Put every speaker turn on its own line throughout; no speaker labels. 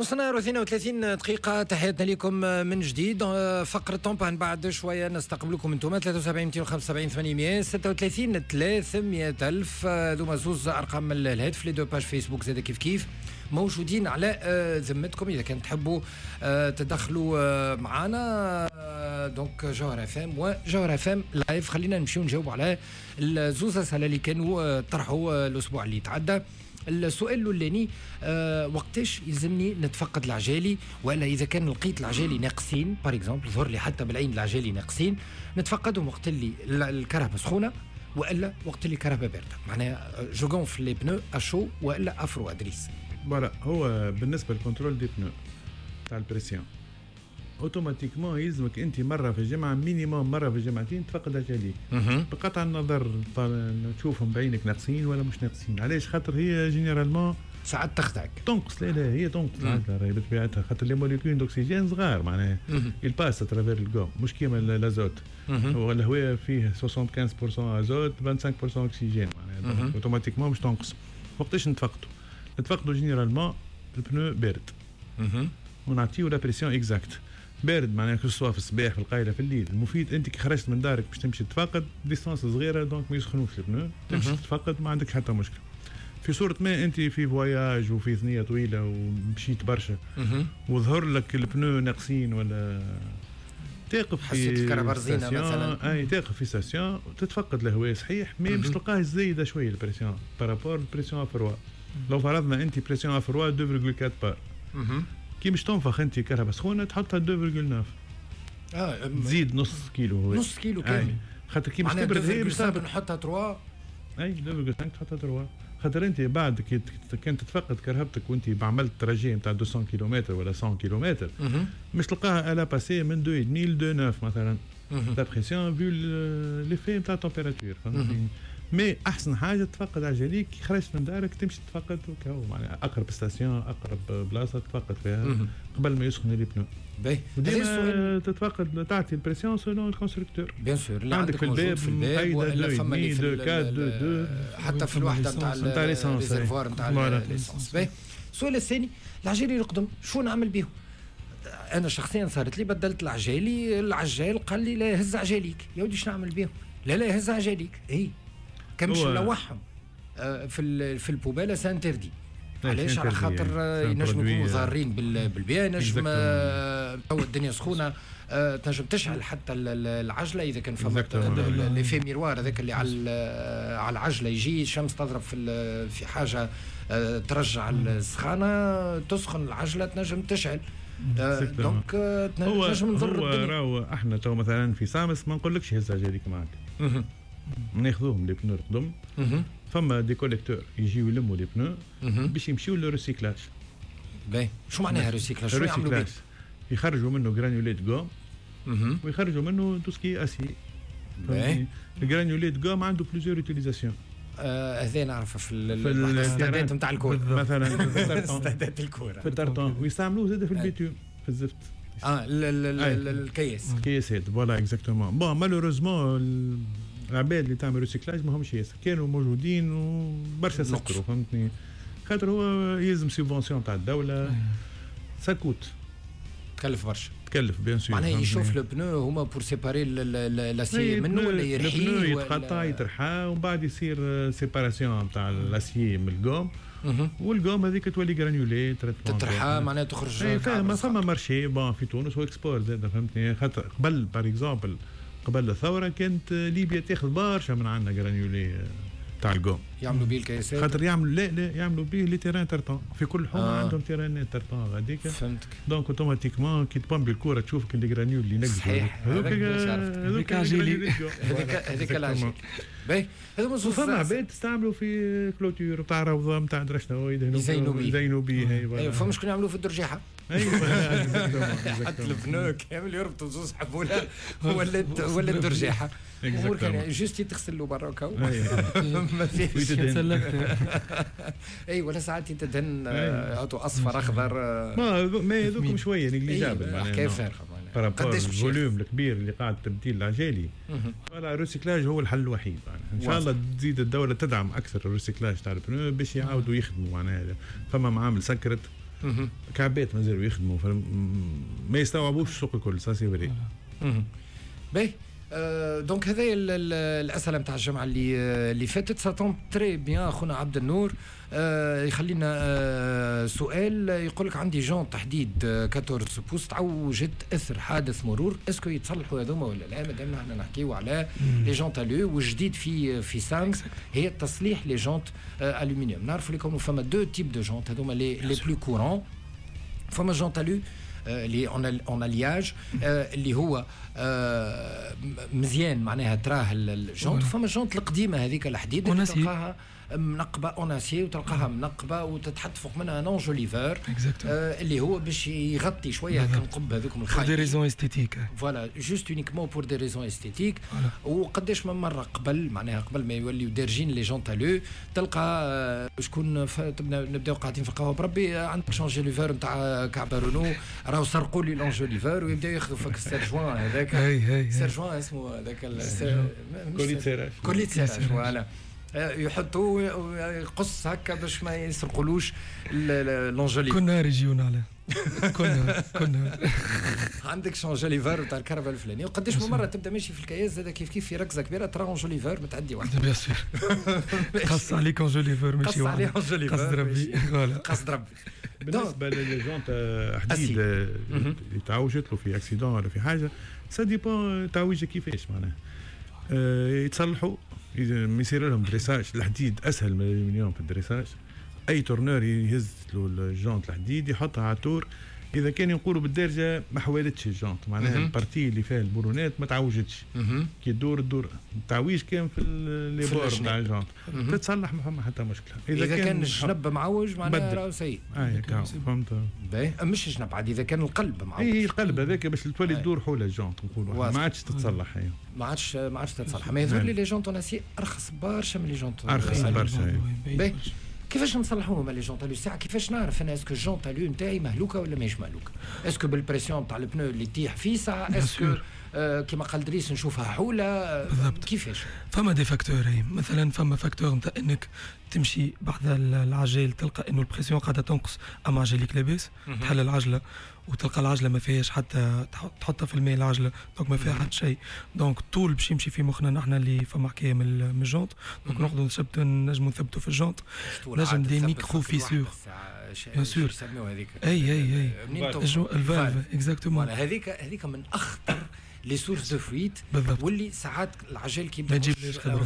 نص نهار و32 دقيقة، تحياتنا لكم من جديد. فقرة en panne بعد شوية نستقبلكم انتم 73 275 836 300 ألف، ذوما زوز أرقام الهاتف. les deux pages فيسبوك زاد كيف كيف موجودين على ذمتكم إذا كان تحبوا تدخلوا معنا. donc جوهر اف ام وجوهر اف ام live. خلينا نمشيو نجاوبوا على الزوز أسئلة اللي كانوا طرحوا الأسبوع اللي تعدى. السؤال الاولاني، وقتاش يلزمني نتفقد العجالي؟ ولا اذا كان لقيت العجالي ناقصين par exemple، ظهر لي حتى بالعين العجالي ناقصين، نتفقدهم وقت اللي الكرهبه سخونة والا وقت اللي الكرهبه باردة؟ معناها je gonfle les pneus à chaud والا à froid دريس؟
voilà، هو بالنسبة لل contrôle des pneus تاع ال pression، automatiquement يلزمك انت مرة في الجمعة minimum، مرة في الجمعتين تفقد عجاليك، بقطع النظر تشوفهم بعينك ناقصين ولا مش ناقصين. علاش؟ خاطر هي généralement
ساعات تخدعك.
تنقص. لا لا، هي تنقص العجلة راهي بطبيعتها، خاطر les molécules d'oxygène صغار، معناها ils passent à travers ال gomme، مش كيما l'azote. هو الهواء فيه 75% ازوت، 25% اكسجين، معناها automatiquement مش تنقص. وقتاش نتفقدوا؟ نتفقدوا généralement ال pneu بارد ونعطيو la pression exacte. بارد معناها que ce soit في الصباح، في القايله، في الليل. المفيد انت كي خرجت من دارك باش تمشي تفقد، distance صغيره، donc ما يسخنوش ال pneus، تمشي تتفقد ما عندك حتى مشكل. في صورة ما انت في voyage وفي ثنية طويلة ومشيت برشا وظهر لك ال pneus ناقصين ولا تقف في
حسيت الكرهبة رزينة مثلا.
اي، تقف في station تتفقد الهواء، صحيح، mais باش تلقاه زايدة شوية ال pression par rapport ال pression à froid. لو فرضنا انت pression à froid 2.4 بار، كي باش تنفخ انت كرهبة سخونة تحطها 2.9. تزيد نص كيلو هو.
نص كيلو كامل.
خاطر كي باش تبرد
هي باش نحطها 3.
اي، 2.5 تحطها 3، خاطر انت بعد كي كان تتفقد كرهبتك وانت عملت trajet نتاع 200 كيلومتر ولا 100 كيلومتر، مش تلقاها elle a passé من 2.5 ل 2.9 مثلا la pression، vu l'effet نتاع température، فهمتني؟ mais احسن حاجة تفقد عجليك كي خرجت من دارك، تمشي تفقد وكهو، معناها اقرب station، اقرب بلاصة تفقد فيها قبل ما يسخن les pneus.
باهي.
وديما تتفقد، تعطي ال pression selon ال constructeur.
bien sûr، اللي عندك في الباب، في الباب ولا فما اللي في حتى في الوحدة نتاع ال réservoir نتاع l'essence. باهي، السؤال الثاني، العجالي القدم شو نعمل بهم؟ انا شخصيا صارت لي، بدلت العجالي، العجال قال لي لا، هز عجاليك. يا ودي شنو نعمل بهم؟ لا لا، هز عجاليك. اي كان باش نلوحهم في ال poubelle، c'est interdit. علاش؟ على خاطر ينجموا يكونوا ضارين بالبيئه، نجم تو الدنيا سخونه، تنجم تشعل حتى العجلة اذا كان فما l'effet miroir هذاك اللي على العجله، يجي الشمس تضرب في حاجة ترجع السخانه، تسخن العجله، تنجم تشعل، donc تنجم نضر.
هو راهو احنا تو مثلا في سامس ما نقولكش هز عجاليك معك، ناخذوهم les pneus القدم، فما des collecteurs يجيو يلموا les pneus باش يمشيو لل recyclage.
باهي، شو معناها recyclage؟ شو يعملوا به؟
يخرجوا منه granulés de gomme ويخرجوا منه tout ce qui est acier.
باهي.
ال granulés de gomme عنده plusieurs utilisations.
هذا نعرفه في الاستادات نتاع الكورة.
مثلا
استادات الكوره.
في ال tartan، ويستعملوه زاد في ال bitume، في الزفت.
الكياس.
الكياسات، voilà exactement. bon، malheureusement العباد اللي تعمل recyclage ما همش ياسر، كانوا موجودين وبرشا سكروا، فهمتني؟ خاطر هو يلزم subvention تاع الدوله، ça coûte.
تكلف برشا.
تكلف bien sûr.
معناها يشوف le pneu هما pour séparer l'acier منه ولا يرحيه؟
ال pneu يتقطع، يترحى، ومن بعد يصير séparation تاع l'acier من ال gomme، وال gomme هذيك تولي granulés.
تترحى معناها تخرج.
فما marché bon في تونس و export زاد، فهمتني؟ خاطر قبل par exemple قبل الثورة كانت ليبيا تاخذ برشا من عندنا granulés تاع ال gomme.
يعملوا بيه الكياسات؟
خاطر يعملوا، لا لا، يعملوا بيه les terrains tartan، في كل حومه عندهم terrain tartan غاديك.
فهمتك.
donc automatiquement كي تبامبي الكورة تشوف les granules اللي نقزوا.
صحيح،
هذوك
هذوك هذيك العجيل. باهي،
هذوما فما عباد تستعملوا في clôture نتاع روضه، نتاع درا شنو،
يدهنوا يزينوا
بيه، يزينوا بيه.
ايوه، فما شكون يعملوا في الدرجيحه.
ايوه.
حط ال pneu كامل، يربطوا زوز حبوله، ولات درجيحه. امور كان juste تغسل له برا وكاو ما فيش. اي، ولا ساعات يتدهن اصفر، اخضر.
ما هذوكم شوية négligeable.
حكاية فارغه.
قداش ال volume الكبير اللي قاعد تبديل العجالي، voilà، ال recyclage هو الحل الوحيد. ان شاء الله تزيد الدولة تدعم اكثر ال recyclage تاع ال pneus باش يعاودوا يخدموا. معناها فما معامل سكرت. كعبات مازالوا يخدموا، ما يستوعبوش السوق الكل، ça c'est vrai.
باهي، donc هذا الاسئلة نتاع الجمعة اللي فاتت. ça tombe très bien، خونا عبد النور يخلينا سؤال، يقول لك عندي jante حديد 14 pouces تعوجت اثر حادث مرور، est-ce que يتصلحوا هذوما ولا لا؟ مادام احنا نحكيو على les jantes alu، وجديد في سامس هي تصليح les jantes aluminium. نعرفوا لكم فما deux types de jantes هذوما les plus courants. فما jante alu اللي en alliage، اللي هو مزيان، معناها تراه ال jante. فما jante القديمة هذيك الحديد اللي تلقاها منقبة en acier، وتلقاها منقبة وتتحط فوق منها un enjoliveur اللي هو باش يغطي شوية هكا النقب هذوك.
pour des raisons esthétiques.
voilà، juste uniquement pour des raisons esthétiques. وقداش من مرة قبل، معناها قبل ما يوليو دارجين les jantes alu، تلقى شكون نبداو قاعدين في القهوه، بربي عندك enjoliveur نتاع كعبه رونو؟ راهو سرقوا لي l'enjoliveur، ويبداو ياخذوا فك ال serre-joint هذاك، serre-joint اسمه هذاك،
collier de serrage.
collier de serrage، voilà، يحطوه يقص هكا باش ما يسرقولوش l'enjoliveur.
كل نهار يجيونا عليه، كل نهار.
عندك enjoliveur تاع الكرهبة الفلانيه؟ وقداش من مرة تبدا ماشي في الكياس زاد كيف كيف، في ركزه كبيرة ترى enjoliveur متعدي واحد.
bien sûr، قص عليك enjoliveur ماشي.
قص عليه enjoliveur.
قصد ربي.
قصد ربي.
بالنسبة لل jantes حديد اللي تعوجت له في accident ولا في حاجه، ça dépend تعويجه كيفاش، معناها يتصلحوا، يصير لهم dressage. الحديد اسهل من الالومنيوم في ال dressage. اي tourneur يهز له ال jante الحديد يحطها على ال tour، اذا كان يقولوا بالدارجة ما حوالتش ال jante، معناها ال partie اللي فيها البورونات ما تعوجتش، كي تدور تدور. التعويج كان في les bords نتاع ال jante، تتصلح، ما فما حتى مشكله.
اذا كان الجنب معوج معناها راهو سيء.
اه فهمت.
مش جنب عاد، اذا كان القلب معوج.
اي، القلب هذاك باش تولي تدور حول ال jante، نقولوا ما عادش تتصلح.
ايوه، ما عادش تتصلح. ما يظهر لي les jantes en acier ارخص برشا من les jantes.
ارخص برشا.
كيفاش نصلحوهم les jantes alu؟ ساعة كيفاش نعرف انا est-ce que jante alu نتاعي مهلوكه ولا ماهيش مهلوكه؟ est-ce que بال pression تاع ال pneu اللي تطيح فيه ساعه؟ est-ce que كيما قال دريس نشوفها حوله؟
بالضبط.
كيفاش؟
فما des facteurs هي، مثلا فما facteur نتاع انك تمشي بحذا العجال تلقى انه ال pression قاعدة تنقص اما عجليك لاباس. تحل العجلة وتلقى العجلة ما فيهاش حتى، تحطها في الماء العجله، donc ما فيها حتى شيء، donc طول باش يمشي في مخنا نحن اللي فما حكاية من ال jante، donc نقعدوا نثبتوا، نجموا نثبتوا في ال jante، نجم des micro-fissures.
bien sûr. هذيك.
اي، ال valve exactement.
هذيك من اخطر les sources de fuite. واللي ساعات العجال كي
يبدا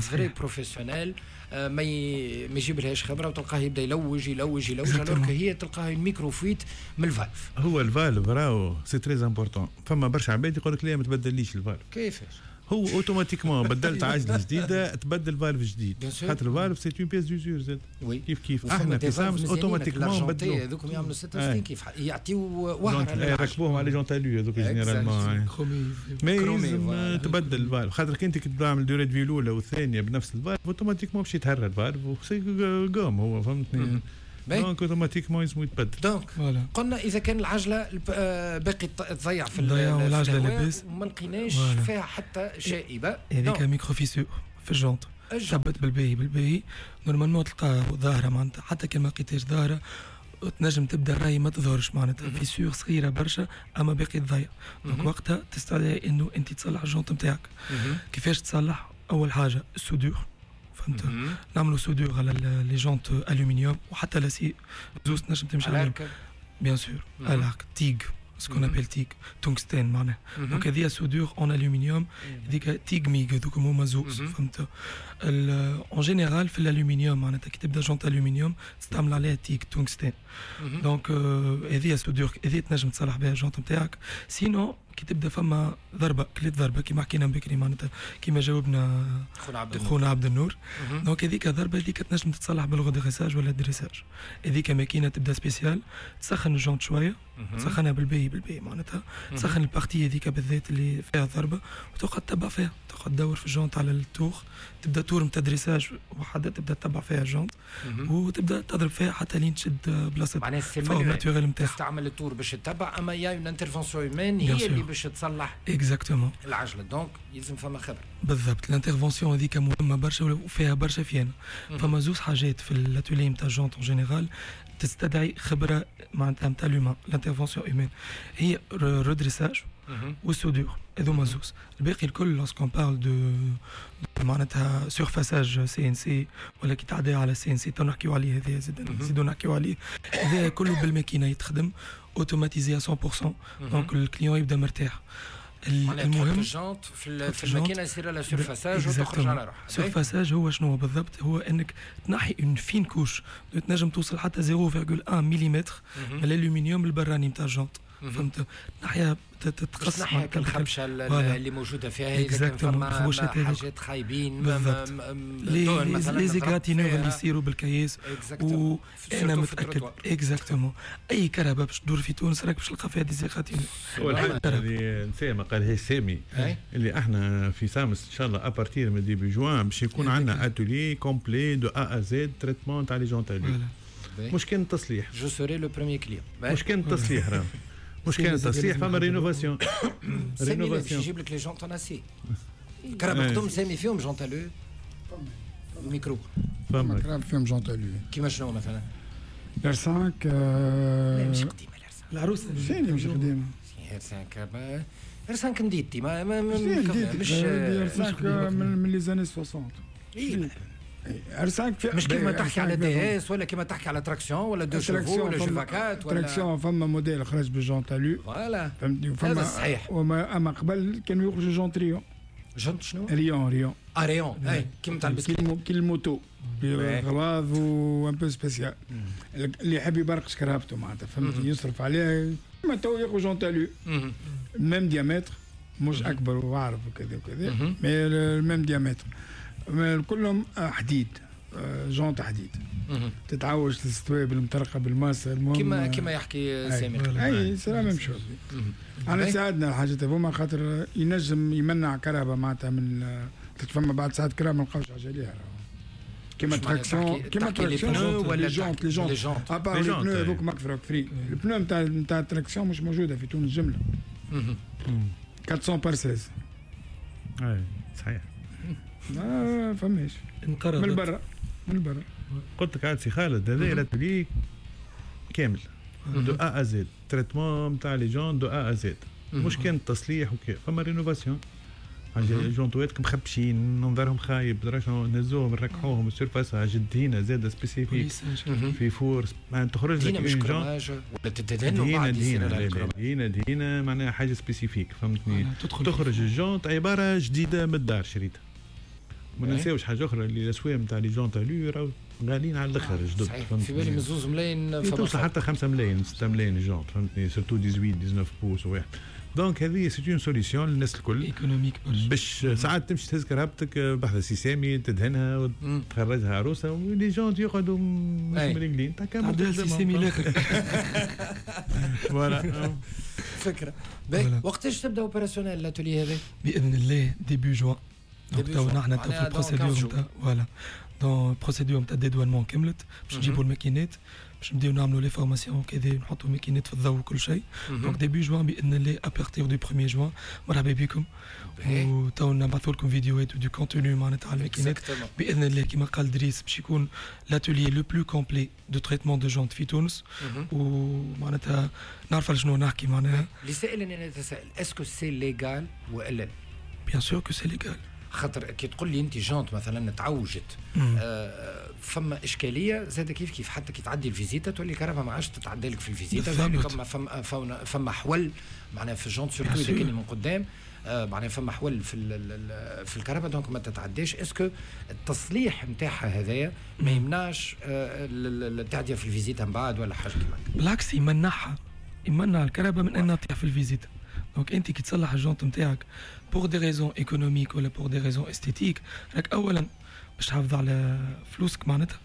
vrai professionnel ما يجيب لهاش خبره، وتلقاه يبدا يلوج يلوج يلوج، alors هي تلقاها micro-fuite من ال valve.
هو ال valve راهو c'est très important. فما برشا عباد يقول لك لا، ما تبدليش ال valve.
كيفاش؟
هو automatiquement بدلت عجله جديدة تبدل valve جديد، خاطر ال valve c'est une pièce d'usure زاد. كيف كيف احنا في سامس automatiquement بدلوا.
هذوك يعملوا 66 كيف يعطيو وهره.
يركبوهم على jantes alu هذوك généralement، mais لازم تبدل ال valve، خاطر كي انت تعمل durée de vie الاولى والثانية بنفس ال valve، automatiquement باش يتهرى ال valve، c'est gomme هو، فهمتني؟ donc automatiquement لازم يتبدل.
donc قلنا اذا كان العجلة باقي تضيع في
العجلة لاباس
وما لقيناش فيها حتى شائبه.
هذيك micro-fissure في ال jante، ثبت بالباهي بالباهي، normalement تلقى ظاهره، معناتها حتى كان ما لقيتهاش ظاهره تنجم تبدا الراي ما تظهرش، معناتها fissure صغيرة برشا اما باقي تضيع، donc وقتها تستدعي انه انت تصلح ال jante نتاعك. كيفاش تصلح؟ اول حاجة ال soudure، فهمت؟ نعملوا soudure على les jantes aluminium وحتى l'acier، زوز تنجم تمشي عليهم. bien sûr، à l'arc TIG، ce qu'on appelle TIG، tungstène معناها. donc هذه soudure en aluminium، هذيك TIG MIG، هذوك هما زوز، فهمت؟ en général في الالومنيوم، معناتها كي تبدا jante aluminium تستعمل عليها TIG tungstène. donc هذه soudure، هذه تنجم تصلح بها ال jante نتاعك. sinon كي تبدا فما ضربه، كليت ضربه كيما حكينا بكري، معناتها كيما جاوبنا
خونا عبد النور،
خونا عبد النور، donc هذيك ضربه هذيك تنجم تتصلح بال redressage ولا dressage. هذيك ماكينة تبدا spéciale، تسخن ال jante شويه، تسخنها بالباهي بالباهي، معناتها تسخن ال partie هذيك بالذات اللي فيها ضربه، وتقعد تتبع فيها، تقعد تدور في ال jante على ال tour، تبدا tour نتاع dressage وحده، تبدا تتبع فيها ال jante وتبدا تضرب فيها حتى لين تشد بلاصة
معناها
c'est naturel نتاعها.
تستعمل ال tour باش تتبع، اما y a une intervention humaine هي اللي باش تصلح
exactement
العجله، donc يلزم فما خبره.
بالضبط، l'intervention هذيك مهمة برشا وفيها برشا فيانا. فما زوز حاجات في l'atelier نتاع jantes en général تستدعي خبره معناتها نتاع l'humain، l'intervention humaine، هي redressage وال soudure، هذوما زوز. الباقي الكل lorsqu'on parle de معناتها surfaçage CNC ولا كي تعدي على CNC، تو نحكيو عليه هذا، زاد نزيدو نحكيو عليه، هذا كله بالماكينه يتخدم automatisé 100%، donc ال client يبدا مرتاح.
المهم ال jante في الماكينة يصير لها surfaçage وتخرج على روحها.
surfaçage هو شنو بالضبط؟ هو انك تنحي une fine couche، تنجم توصل حتى 0.1 ملم من الالومنيوم البراني نتاع ال jante، فهمت؟ نحيها
تتقص نحيها الخبشه اللي موجودة فيها، اذا كان فما حاجات خايبين.
بالضبط، les égratignures اللي يصيروا بالكياس. وانا متاكد exactement اي كرهبه باش تدور في تونس راك باش تلقى فيها des égratignures.
والحاجة اللي نسى ما قالهاش سامي، اللي احنا في سامس ان شاء الله à partir من début juin باش يكون عندنا atelier complet de A à Z traitement تاع les jantes alu. مش كان تصليح،
je serai le premier client.
مش كان تصليح، راه مش كان تصليح، فما rénovation.
rénovation يجيب لك les jantes en acier. كراهب قدم سامي فيهم jantes alu؟ micro.
فما كراهب فيهم jantes alu.
كيما شنو مثلا؟
R5.
لا مش قديمة ال R5.
العروسه.
شنو مش قديمة؟
R5، R5 نديتي ما
مش R5 من les années 60.
اي
R5.
مش كيما تحكي على DS ولا كيما تحكي على traction ولا deux chevaux ولا Juvaquatre
ولا traction. فما موديل خرج بال jante alu.
voilà،
فهمتني؟
وفما صحيح.
وما اما قبل كانوا يخرجوا jante rayon.
jante شنو؟
rayon rayon.
اه rayon، اي كيما تاع البسكليت.
كي ال moto غلاظ و un peu spécial، اللي يحب يبرقش كرهبته معناتها، فهمتني؟ يصرف عليها. ما تو ياخذ jante alu même diamètre، مش اكبر وعرف وكذا وكذا، mais ال même diamètre، كلهم حديد، jante حديد تتعوج تستوي بالمطرقه بالماسه.
المهم كما يحكي سامي.
اي c'est la même chose. انا ساعدنا الحاجات هذوما خاطر ينجم يمنع كرهبه معناتها من فما بعد ساعات كرهبه ما نلقاوش حاجة ليها، كيما traction، كيما traction ولا jantes، les jantes à part les pneus هذوك ماك فري. ال pneu نتاع ال traction مش موجودة في تونس جمله، 400 par 16.
اي صحيح،
ما فماش، من برا من برا.
قلت لك عاد سي خالد، هذا l'atelier كامل de A à Z، traitement نتاع les jantes de A à Z، مش كان تصليح وكي فما rénovation. جونتوات مخبشين منظرهم خايب، نهزوهم نركحوهم surfaçage، دهينه زاده spécifique في four، معناها تخرج لك
مش chromage ولا تدهن.
دهينه دهينه دهينه معناها حاجة spécifique، فهمتني؟ تخرج ال jante عبارة جديدة من الدار شريتها. ما ننساوش حاجة اخرى، اللي الاسوام نتاع les jantes alu راهو غاليين على الاخر جدد.
في بالي من 2 ملايين
توصل حتى 5 ملايين 6 ملايين jante، فهمتني؟ surtout 18 19 pouces واحد. donc هذه c'est une solution للناس الكل
économique،
باش ساعات تمشي تهز كرهبتك بحذا سي سامي تدهنها وتخرجها عروسه و les jantes يقعدوا مش مريقلين.
تعدل سي سامي الاخر.
voilà
فكرة. وقتاش تبدا opérationnel l'atelier هذا؟
باذن الله début juin. donc تو نحن تو في ال procédure نتاع voilà، donc procédure نتاع dédouanement كملت باش نجيبوا الماكينات باش نبداو نعملوا les formations كذا، نحطوا ماكينات في الضوء وكل شيء. donc début juin باذن الله، à partir du 1 جوان مرحبا بكم، وتو نبعثوا لكم فيديوهات و du contenu معناتها على الماكينات باذن الله. كما قال دريس باش يكون l'atelier le plus complet de traitement de jantes في تونس، ومعناتها نعرف على شنو نحكي معناها.
لسائل انا نتساءل، est-ce que c'est légal والا؟
bien sûr que c'est légal.
خاطر كي تقول لي انت jante مثلا تعوجت، فما اشكالية زاد كيف كيف، حتى كي تعدي ال visite تولي الكرهبه ما عادش تتعدى لك في ال visite، فما حول معناها في ال jante surtout اذا كان من قدام، معناها فما حول في الكرهبه، donc ما تتعداش. est-ce que التصليح نتاعها هذايا ما يمنعش التعديه في ال visite من بعد ولا حاجة كيما؟
بالعكس يمنعها، يمنع الكرهبه من انها تطيح في ال visite. donc انت كي تصلح ال jante نتاعك pour des raisons économiques ولا pour des raisons esthétiques، راك اولا باش تحافظ على فلوسك معناتها،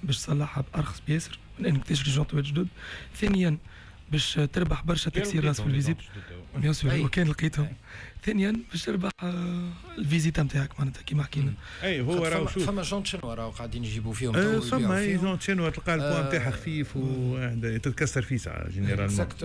باش تصلحها بارخص بياسر من انك تشري جونت جدد. ثانيا باش تربح برشا تكسير راس في ال visite bien sûr وكان لقيتهم. ثانيا باش تربح ال visite نتاعك معناتها كيما حكينا.
اي هو راهو شوف
فما jantes chinoises راهو قاعدين يجيبوا فيهم تو
فما jantes chinoises تلقى البوان نتاعها خفيف وتتكسر فيه ساعة généralement.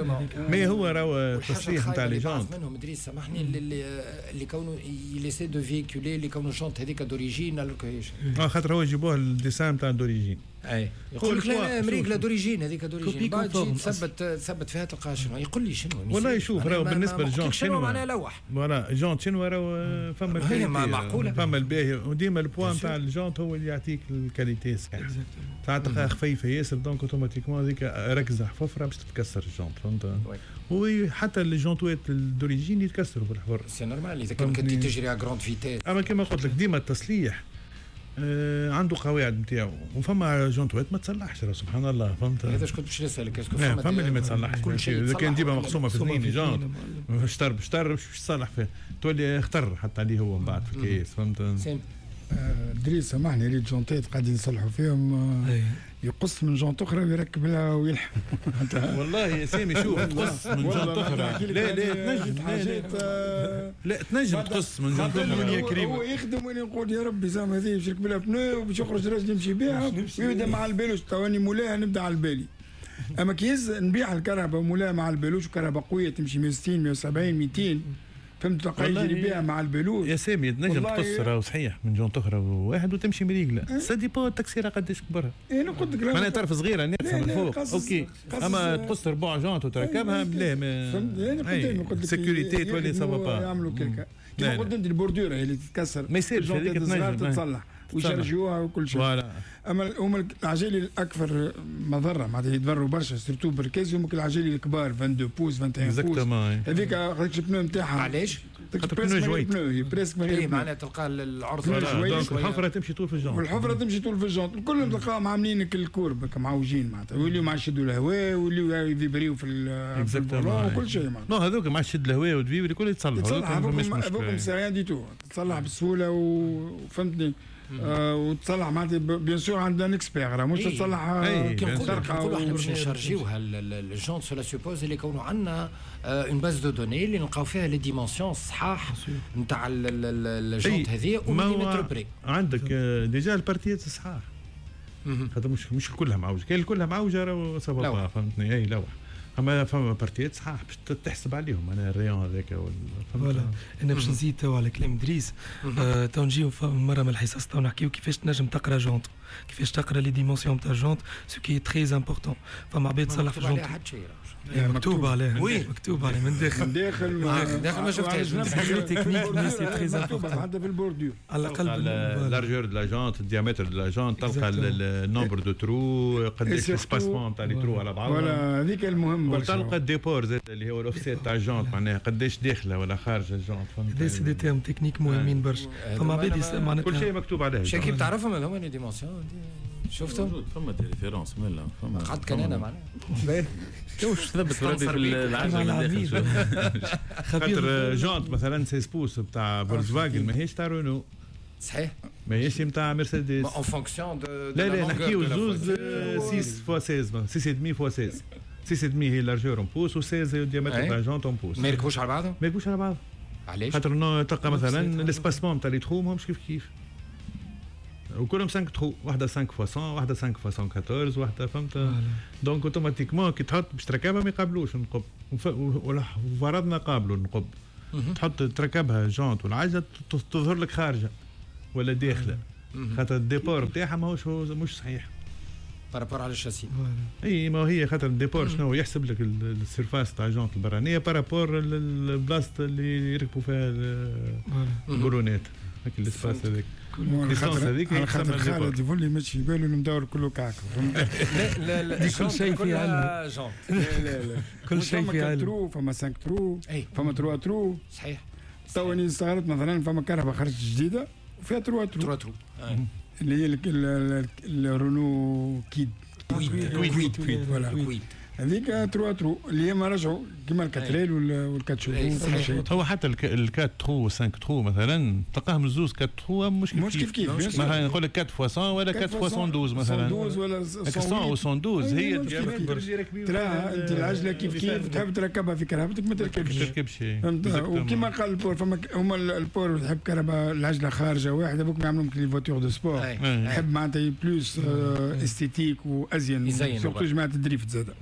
mais هو راهو التصليح نتاع les jantes
منهم ادريس سامحني اللي كونه il essaie de véhiculer اللي كونه jante هذيك d'origine.
خاطر هو يجيبوها ال dessin نتاع d'origine.
اي يقول لك لا مريقله d'origine هذيك d'origine، بعد تثبت فيها تلقى شنو يقول لي شنو.
والله شوف راهو بالنسبة لل jantes chinoises
معناها لوح
voilà jante chinoise راهو فما ال qualité
معقولة
فما الباهي، وديما ال poids نتاع ال jante هو اللي يعطيك ال qualité صحيح. ساعات تلقاها خفيفة ياسر donc automatiquement هذيك ركزه حفره باش تتكسر ال jante فهمت. وحتى ال jantes وات d'origine يتكسروا في الحفر
c'est normal اذا كان كنت تجري à grande vitesse.
اما كما قلت لك ديما التصليح عنده قواعد نتاعو، وفما jante وات ما تصلحش سبحان الله فهمت.
هذا شكون باش نسالك est-ce que
فما اللي ما تصلحش اذا كان ديما مقسومة في اثنين jante شطر بشطر باش تصلح فيه تولي خطر حتى عليه هو من بعد في الكيس فهمت.
دريس سامحني ريت jante ات قاعدين يصلحوا فيهم يقص من jante اخرى ويركب لها ويلحم.
والله يا سامي شوف تقص من jante اخرى لا لا تنجم
حاجات
لا تنجم تقص من jante اخرى
يا كريم. هو يخدم وانا نقول يا ربي زعما هذه باش يركب لها pneu وباش يخرج راجل يمشي بها ويبدا مع البالوش تواني مولاها نبدا على البالي. اما كي نبيع الكرهبه مولاها مع البالوش وكرهبه قوية تمشي 160 170 200 فهمت تلقى يجري بها مع البلوش.
يا سامي تنجم تقص راهو صحيح من jante اخرى واحد وتمشي مريقله ça dépend التكسيره قداش كبرها.
انا قلت لك
معناها طرف صغيرة ناقصه من فوق OK اما تقص ربع jante وتركبها بلا ما
فهمت. انا قلت لك
sécurité تولي ça va pas
يعملوا كيكا كيما قلت انت ال bordure هي اللي تتكسر
ما يصيرش هذيك
تنجم تتصلح ويشرجوها وكل شيء. اما هما العجالي الاكثر مضرة معناتها يتضروا برشا surtout بالكاز هما العجالي الكبار 22 pouces 21 pouces هذيك هذيك ال pneu نتاعها.
علاش؟
خاطر pneu جويت presque ما
هي معناها تلقى العرض
donc الحفرة تمشي طول في ال jante
والحفره تمشي طول في ال jante كلهم تلقاهم عاملين ال courbe معوجين معناتها ويوليو ما عادش يشدوا الهواء ويوليو يفيبريو في ال volant وكل شيء معناتها.
non هذوك ما عادش يشد الهواء وتفيبري الكل يتصلحوا
هذوك c'est rien du tout تصلح بسهولة وفهمتني وتصلح معناتها bien sûr عندنا expert مش تصلح.
كي نقولوا احنا باش نشارجيوها ال jante cela suppose اللي يكونوا عندنا une base de données اللي نلقاو فيها les dimensions صحاح نتاع ال jante هذه و millimètre près.
عندك déjà ال parties الصحاح خاطر مش كلها معوجة، كاين كلها معوجة راهو ça va فهمتني. اي لوح اما فما parties صحاح باش تحسب عليهم انا ال rayon هذاك.
voilà انا باش نزيد تو على كلام دريس تو نجيو مرة من الحصص تو نحكيو كيفاش تنجم تقرا jante، كيفاش تقرا les dimensions تاع jante ce qui est très important. فما عباد تصلح في jante مكتوب عليه oui مكتوب عليه من داخل
من داخل
داخل ما شفتهاش
technique mais c'est très important
حتى في ال bordure
على الاقل
largeur de la jante ال diamètre de la jante تلقى ال nombre de trous قداش l'espacement تاع les trous على بعضهم.
voilà هذيك المهم برشا.
وتلقى ال déport زاد اللي هو الاوفسيت تاع ال jante معناها قداش داخله ولا خارجه ال jante
فهمت. هذا c'est des termes techniques مهمين برشا. فما عباد
معناتها كل شيء مكتوب عليه.
شكيب تعرفهم هذوما les dimensions شفتهم؟
فما des références مالا فما
قعدت كان انا معناها
واش ثبت ربي في العجلة من داخل.
خاطر jante مثلا 16 pouces بتاع فولكس فاجن ماهيش تاع رونو
صحيح
ماهيش نتاع مرسيدس
en fonction de
لا لا نحكيو زوز 6 fois 16 6 demi fois 16 6 demi هي largeur en pouces و 16 هي ال diamètre تاع jante en pouces.
ما يركبوش على بعضهم؟
ما يركبوش على بعضهم.
علاش؟
خاطر تلقى مثلا l'espacement تاع les trous ماهمش كيف كيف وكلهم 5 trous، واحدة 5 fois 100 واحدة 5 fois 114 واحدة فهمت. donc automatiquement كي تحط باش تركبها ما يقابلوش النقب، وفرضنا قابلوا النقب تحط تركبها jante والعجلة تظهر لك خارجه ولا داخله خاطر ال déport نتاعها ماهوش مش صحيح
par rapport على الشاسي.
اي ما هي خاطر ال déport شنو يحسب لك ال surface تاع jante البرانيه par rapport البلاصة اللي يركبوا فيها البولونات هاك ال espace هذاك
licence هذيك. على خاطر خالد يقول لي ماشي في باله المدور كله كعك
لا لا لا
كل شيء في علم
لا لا لا
كل شيء في علم.
فما 5 trous فما 3 trous
صحيح.
تو اني استغربت مثلا فما كرهبه خرجت جديدة وفيها 3
trous اللي
هي الرونو كيد
كويد
voilà هذيك 3 trous اللي هما رجعوا كيما ال quatre ailes وال quatre chevaux.
هو حتى ال quatre trous 5 trous مثلا تلقاهم الزوز 4 trous مش كيف كيف. مثلا نقول لك 4 fois 100 ولا 4 fois 112 مثلا،
112 ولا
100 و 112 هي
ترى انت العجلة كيف كيف تحب تركبها في كرهبتك ما تركبش. وكيما قال ال port، فما هما ال port تحب كرهبه العجلة خارجه واحدة بوك يعملوا les voitures de sport، يحب معناتها plus esthétique وازين، surtout جماعة ال drift زاد.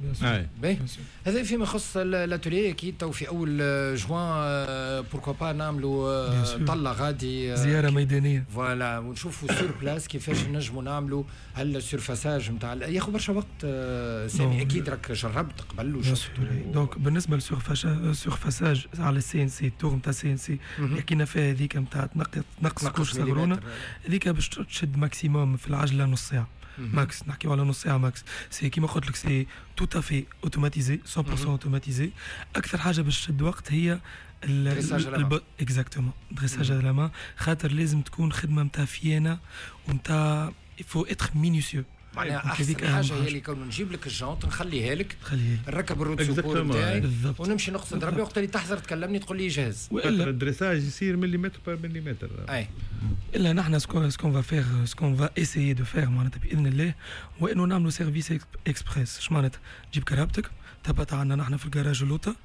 هذا فيما يخص l'atelier. اكيد تو في اول جوان pourquoi pas نعملوا طله غادي،
زيارة ميدانية
voilà، ونشوفوا sur place كيفاش نجموا نعملوا هل surfaçage نتاع ياخذ برشا وقت. سامي اكيد راك جربت قبل
وشفت. donc بالنسبة لل surfaçage على ال CNC، ال tour نتاع ال CNC حكينا فيها هذيك نتاع تنقص couche صغرونه، هذيك باش تشد maximum في العجلة نص ساعة max، نحكيو على نص ساعة max. c'est كيما قلت لك c'est tout à fait automatisé، 100% automatisé. اكثر حاجة باش تشد وقت هي exactement dressage à la main، خاطر لازم تكون خدمة نتاع فيانا ونتاع faut être minutieux.
معناها احسن حاجة هي اللي كون نجيب لك ال jante نخليها لك، نركب ال roue de secours نتاعي ونمشي نقصد ربي، وقت اللي تحضر تكلمني تقول لي جاهز.
والا ال dressage يصير millimètre par millimètre.
اي
الا نحن ce qu'on va faire، ce qu'on va essayer de faire معناتها باذن الله، وانه نعملوا service express. اش معناتها؟ تجيب كرهبتك تهبط عندنا نحن في الجراج اللوطه،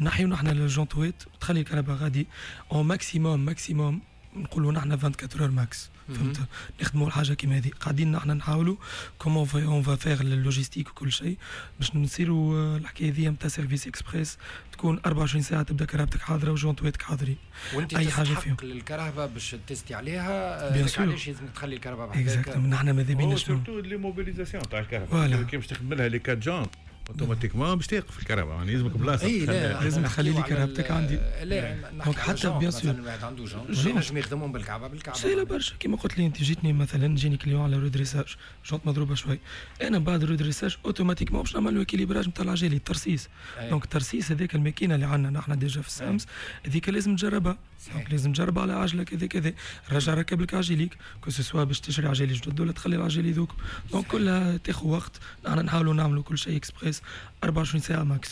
نحيو نحن الجونتويت، تخلي الكرهبه غادي au maximum maximum نقولوا نحن 24 heures max، فهمت؟ نخدموا الحاجة كيما هذه. قاعدين نحن نحاولوا comment on va faire ال logistique وكل شيء باش نصيروا الحكاية هذه نتاع service express، تكون 24 ساعة تبدا كرهبتك حاضره وجونتويتك حاضرين.
وانت اي حاجة فيهم للكرهبه باش تستي عليها، علاش لازم تخلي الكرهبه
بحذاك؟ exactement نحن ماذا بينا
شنو surtout l'immobilisation تاع الكرهبه، كي باش تخدم لها les quatre jantes automatiquement باش تقف الكرهبه، يعني لازمك بلاصة.
لا لازم تخلي لي كرهبتك عندي.
لا donc
حتى bien sûr
واحد عنده jante ينجم يخدمهم بالكعبة بالكعبة.
سهلة برشا كيما قلت لي انت، جيتني مثلا جيني client على redressage jante مضروبة شوي، انا بعد redressage automatiquement باش نعمل له équilibrage نتاع العجالي الترسيس. donc الترسيس هذاك الماكينة اللي عندنا نحن déjà في السامس هذيك لازم تجربها، donc لازم تجربها على عجله كذا كذا، رجع ركب لك عجليك que ce soit باش تشري عجالي جدد ولا تخلي العجالي ذوك. donc كلها تاخذ وقت، نحن نحاولوا نعملوا كل شيء اكسبريس 24 ساعة max.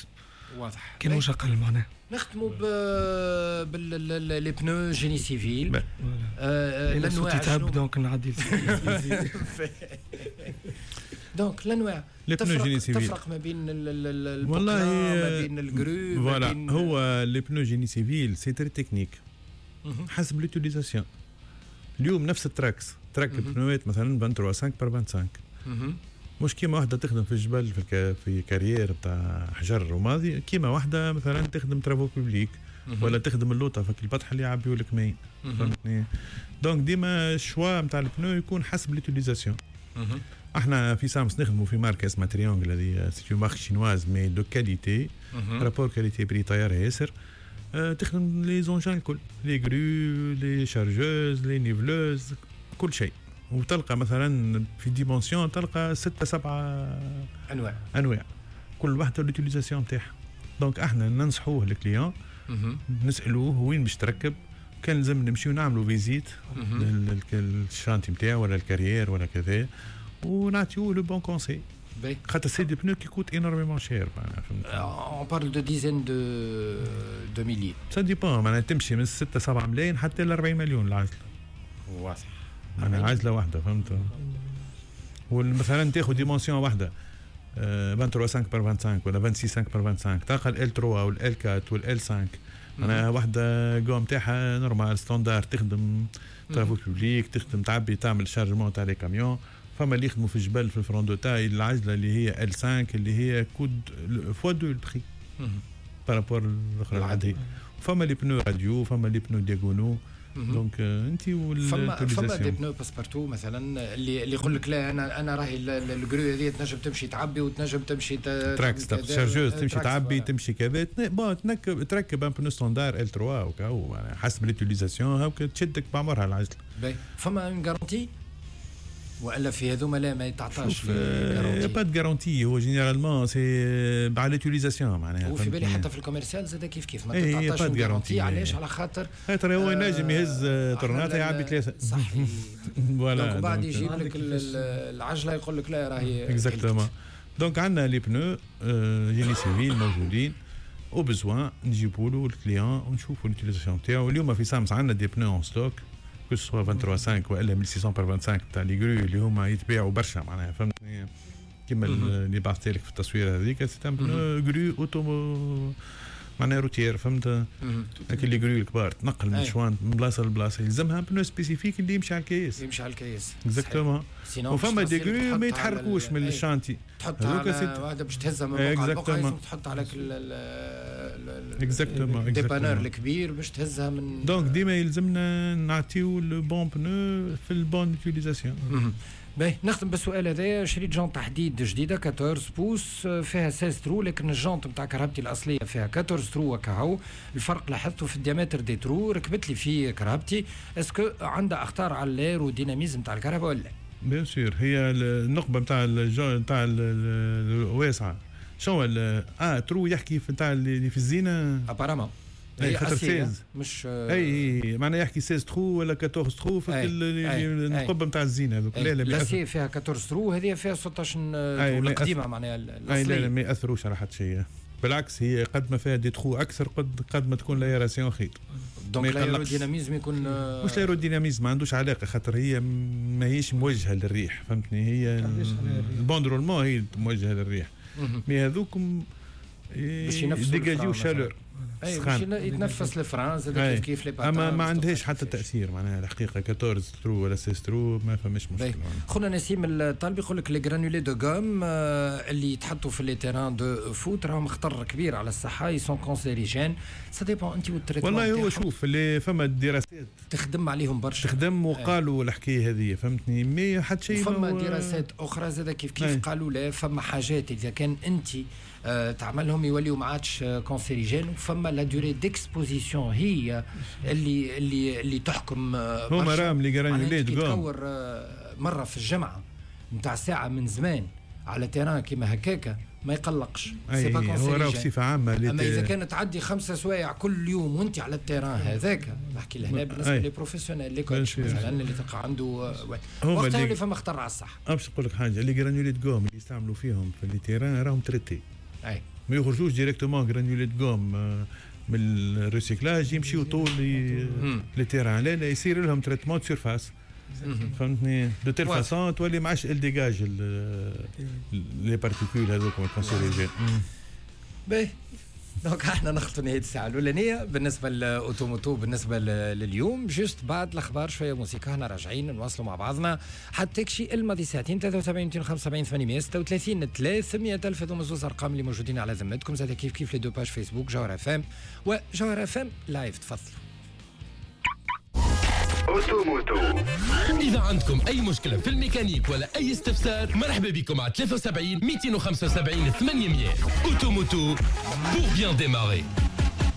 واضح
كان مش اقل معناها.
نختموا بال les pneus génie civil.
الانواع تعب donc نعدي
donc الانواع
les pneus génie civil
تفرق ما بين والله ما بين ال grues.
voilà هو les pneus génie civil c'est très technique حسب l'utilisation. اليوم نفس ال Trax تركب بنوات مثلا 23 5 par 25، مش كيما واحدة تخدم في الجبل في carrière بتاع حجر وماضي، كيما واحدة مثلا تخدم travaux publics ولا تخدم اللوطه في البطح اللي يعبيو لك ماء، فهمتني؟ donc ديما ال choix نتاع ال pneu يكون حسب l'utilisation. احنا في سامس نخدموا في ماركة اسمها Triangle، هذه c'est une marque chinoise mais de qualité، rapport qualité prix طيارة ياسر. تخدم les engins الكل، les grues، les chargeuses، les niveleuses، كل شيء. وتلقى مثلا في dimension تلقى 6 7 انواع كل واحدة l'utilisation تاعها. donc احنا ننصحوه ال client، نسالوه وين باش تركب، كان لازم نمشيو نعملوا visite لل chantier نتاعو ولا ال carrière ولا كذا، ونعطيوه le bon conseil. خاطر c'est des pneus qui coûtent énormément cher، معناها
فهمت. on parle de dizaines de milliers،
ça dépend، معناها تمشي من 6 7 ملايين حتى ل 40 مليون العجلة.
واضح
معناها عجله واحدة، فهمت؟ ومثلا تاخذ dimension واحدة 23 5 par 25 ولا 26 5 par 25، تلقى L 3 وال L 4 وال L 5، معناها واحدة gomme تاعها normale standard، تخدم travaux publics، تخدم تعبي تعمل chargement تاع les camions. فما اللي يخدموا في الجبل في ال franc de taille العجلة اللي هي L 5 اللي هي coûte fois deux ال prix par rapport الاخرى العادية. فما les pneus radiaux، فما les pneus diagonaux. donc انت
فما des pneus passe-partout مثلا اللي يقول لك لا انا راهي ال grue هذه تنجم تمشي تعبي وتنجم تمشي
Trax chargeuse تمشي تعبي تمشي كذا، bon تركب un pneu standard L 3 وكاو حسب l'utilisation هاك تشدك بعمرها العجلة.
فما une garantie والا في هذوما لا ما يتعطاش
garantie؟ pas de garantie، هو généralement c'est على l'utilisation معناها.
وفي بالي حتى في ال commercial زاد كيف كيف ما تتعطاش garantie. علاش؟ على خاطر
هو ينجم يهز طرناطه يعبي ثلاثة
صحيح. voilà وبعد يجيب لك العجلة يقول لك لا راهي
exactement. donc عندنا les pneus génie civil موجودين، au besoin نجيبوا له ال client ونشوفوا l'utilisation تاعو. اليوم في سامس عندنا des pneus en stock، que ce soit 23 5 والا 1600 par 25 تاع les grues اللي هما يتباعوا برشا معناها، فهمتني؟ كيما اللي بعثت لك في التصويره هذيك، c'est un pneu grue auto معناها routière، فهمت؟ لكن les grues الكبار تنقل من شوان من بلاصة لبلاصه يلزمها pneu spécifique اللي يمشي على الكيس.
يمشي على الكيس.
exactement. وفما des grues ما يتحركوش من ال chantier.
تحط على واحدة باش تهزها من بقعة لبقعه، لازم تحط على
exactement
dépanneur الكبير باش تهزها من
donc ديما يلزمنا نعطيو le bon pneu في ال bonne utilisation.
باهي، نختم بالسؤال هذايا. شريت jante حديد جديدة 14 pouces فيها 16 trous، لكن ال jante نتاع كرهبتي الاصلية فيها 14 trous وكهو. الفرق لاحظته في ال diamètre des trous. ركبت لي في كرهبتي، est-ce que عندها اخطار على l'aérodynamisme نتاع الكرهبه ولا؟
bien sûr، هي النقبه نتاع نتاع الواسعة شنو trou يحكي في نتاع اللي في الزينة.
apparemment.
اي خاطر 16
مش
اي معناها يحكي 16 trous ولا 14 trous في النقب نتاع الزينة هذوك.
لا لا، l'acier فيها 14 trous، هذه فيها 16 trous القديمة معناها.
الاصلية. لا لا، ما ياثروش على حتى شيء، بالعكس هي قد ما فيها des trous اكثر قد ما تكون l'aération خير.
donc l'aérodynamisme يكون
مش l'aérodynamisme، ما عندوش علاقه، خاطر هي ماهيش موجهة للريح، فهمتني؟ هي ال bande roulement هي موجهة للريح، mais هذوكم
باش ينفسوا
dégageيو chaleur.
اي، باش يتنفس ال frein زاد كيف كيف
les اما ما عندهاش حتى تاثير معناها الحقيقه، 14 trous ولا 16 trous ما فماش مشكل.
خونا نسيم الطالب يقول لك les granulés de gomme اللي يتحطوا في les terrains de foot راهم خطر كبير على الصحه، ils sont cancérigènes. ça dépend انت وال traitement.
والله هو شوف، اللي فما دراسات
تخدم عليهم برشا.
تخدم وقالوا الحكاية هذه، فهمتني؟ mais حتى شيء.
فما دراسات اخرى زاد كيف كيف قالوا لا، فما حاجات اذا كان انت تعملهم يوليو ما عادش cancérigènes، وفما la durée d'exposition هي اللي تحكم.
هما راهم les granulés
de تكور مرة في الجمعة نتاع ساعة من زمان على terrain كيما هكاكا ما يقلقش.
c'est pas هو راه بصفة عامه.
اما اذا كانت تعدي 5 سوايع كل يوم وانت على ال terrain هذاك، نحكي لهنا بالنسبة les professionnels، les coachs مثلا اللي تلقى عنده وقتها اللي فما خطر على الصحه.
باش نقول لك حاجه، les granulés de gomme اللي يستعملوا فيهم في les terrains راهم traités. ما يخرجوش directement granulés de gomme من ال recyclage يمشيو طول les terrains. لا لا، يصير لهم traitement surface، فهمتني؟ de telle façon تولي ما عادش dégage les particules هذوك cancérigènes.
باهي، donc احنا نخلطوا نهاية الساعة الاولانية بالنسبة ل auto moto بالنسبة لليوم. juste بعد الاخبار شوية موسيقى احنا راجعين نواصلوا مع بعضنا حتى كشي الماضي ساعتين. 73 275 836 300 الف، هذوما زوز ارقام اللي موجودين على ذمتكم. زاد كيف كيف les deux pages فيسبوك جوهر اف ام وجوهر اف ام live. تفضلوا.
auto moto.
إذا عندكم أي مشكلة في الميكانيك ولا أي استفسار، مرحبا بكم على 73 275 800. auto moto pour bien démarrer.